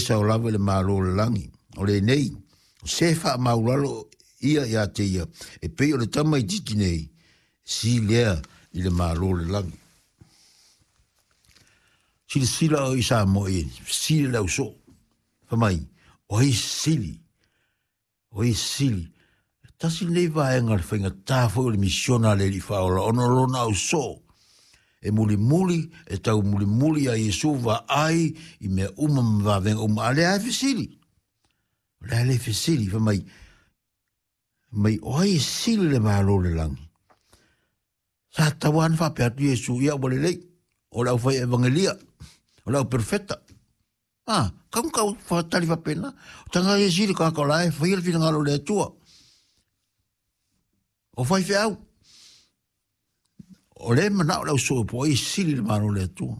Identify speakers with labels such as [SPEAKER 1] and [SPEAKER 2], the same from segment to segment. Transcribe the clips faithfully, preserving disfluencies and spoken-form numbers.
[SPEAKER 1] sao lava i le Malo o le lagi. O lenei, o se faamaulalo ia ia te ia, e pei o le tamaitiiti nei, sili lea i le Malo o le lagi. Silasila o i Samoa i sili le ausoo. Fai mai, o ai sili, o ai sili. Tasi lenei vaega o le faigata foi o le misiona a le Alii Faaola, ona o lona ausoo e mulimuli, e tau mulimuli a Iesu vaai i mea uma ma vavega uma. A lea e fesili, o lea le fesili, fai mai, mai o ai e sili le Malo o le lagi. Sa tatau lava ona faapea atu Iesu, ia ua lelei, o le aufai evangelia, o le au perofeta. Ah, kau kau whakatali whapena. O tanga e sili ka ka lae, whai le finangalo le Atua. O whai whiau. O le mana o le au po ai sili le Malo le Atua.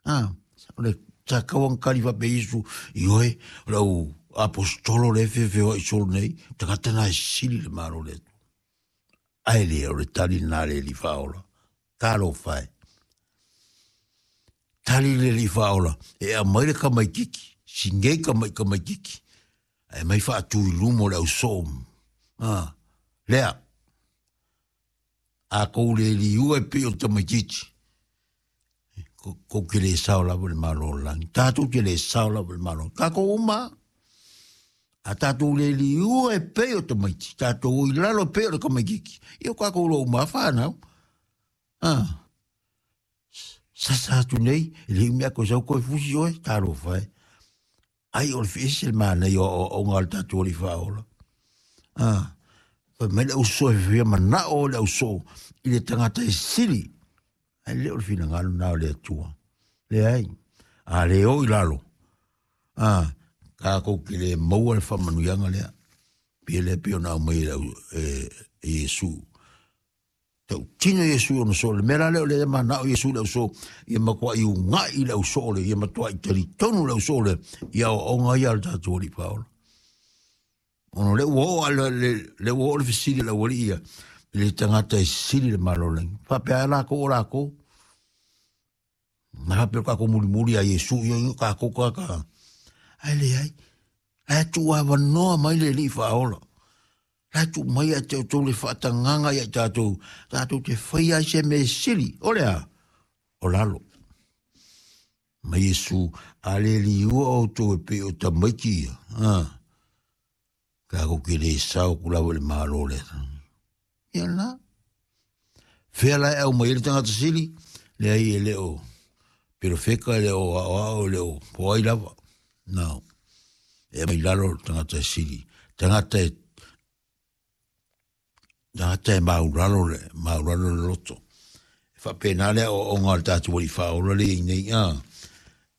[SPEAKER 1] Ah, o le sa kauang kali whape Isu, i oe, o le au apostolo le whewhewa i solo nei, tangata nā e sili le Malo le Atua. Ai le, o le tali nā le li whaola. Talo whai. Tali le li whaola, e a mai le kamaikiki, singei kamai kamaikiki, e mai whaatu i lumo le au soo. Ah, lea, a kou le li ua e pe o tamaitiiti, ko, ko ke le sao lava le Malo o le lagi. Tātou ke le sao lava le Malo. Tākou uma, a tātou le li ua e pe o tamaiti, tātou i lalo pe o le kamaikiki. I o kākou lo uma whanau. Ah. Sasa atu nei, e le mea ko sau koe fusi oe, talo whai. Ai o le whiesi le mana i o o ngā le tātou ali whaola. Ah, whai mai le auso e whia mana o le auso i le tangata e sili. Ai le o le whina ngalo nā o le atua. Le ai, a le o i lalo. Ah, ka kou ki le maua le whamanuianga lea. Pia le pio nā mai le au e, e Iesu. Tau tino Iesu ona so le mea la leo le mana o Iesu le auso ia matua i ungai le auso le ia matua i talitonu le auso le ia o onga ia le tātou ali whaola. Ono le ua o le, le, le ua o le fesili le uali ia le tangata e sili le Malo lengi. Whapea la ko o la ko. Nā hape kako muri muri a Iesu ia ia kako kaka. Ai le ai. Ai tu awanoa mai le li whaola. La tu mai a te o le whaatanganga ia tātou, tātou te whai ai se me sili, o lea, o lalo. Mai Iesu, a le liua o tō e pe o tamaiti ia. Ah. Ka ko ke le sao ku lawa le malo le. Ia la. Whea lai au mai le tangata sili, le ai e le o perofeka, le o ao ao, le o poai lava. No. E mai lalo tangata sili. Tangata e Tangata e mauralo le, mauralo le loto. E whapena lea o o ngā le tātou wali whaola le i nei, ah.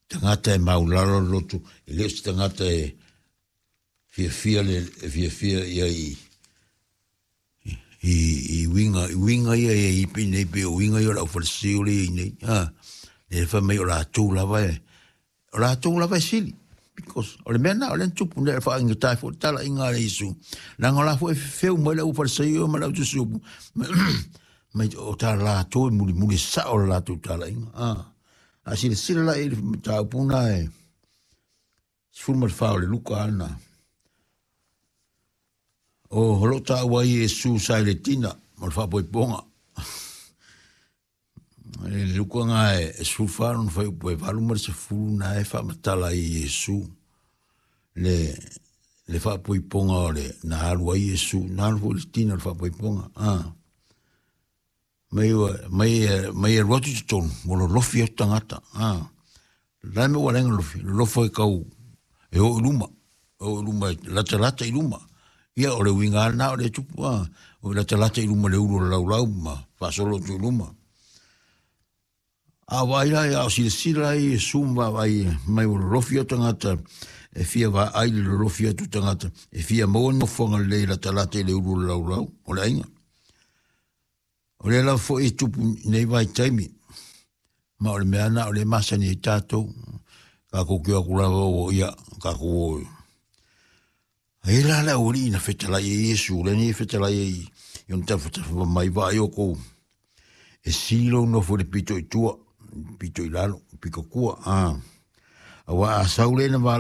[SPEAKER 1] Tangata e mauralo le loto, e leo se tangata e fiafia le, e fiafia ia i, i, i winga, i winga ia ia i nei pe o winga ia o lau whalasio le i nei, ah. Le wha mai o la tū lava e, o la tū lava e sili. Because o le mea nā, o le tupu ne wha inga tai fo tala inga le Isu. Nanga la fo e whiu mai le uwhalasio ma lau tusupu. Mai o tā la tō e muli muli sa o la tō tala inga. Ah. A sila sila la e tā upuna e sifuru ma le wha o le luka ana. O holo tā ua i Iesu sa i le tina ma le whapoiponga. E luka ngā e sifuru whānu whai upu e walu ma le sifuru nā e whamatala i Iesu. Le, le whapoiponga o le nā alu ai Iesu, nā alu le tina le whapoiponga. Ah. Mai, mai, mai e ruatu te tonu, mo lo lofi au tangata. Ah. Lai me walenga lofi, lofo e kau e o i luma, o i luma, lata lata i luma. Ia o le winga nā o le tupu, ah. O lata lata i luma le ulu o le laulau ma whasolo tu i luma. A vai lai, a o sila lai, e sumba vai, mai o lofi au tangata, e fia va ai le lofi atu tangata, e fia maua nofonga le lata lata i le ulu o le laulau, o le ainga. O le lau fo e tupu nei vai taimi, ma o le mea na o le masani e tātou, ka kō aku lava o ia, ka kō o. Ai la la uri ina whetalai e Iesu, le ni whetalai e i on tawhatafa mai vai o kou. E silo no fo le pito i tua, pito i lalo, piko kua, ah. Awa a saule na wala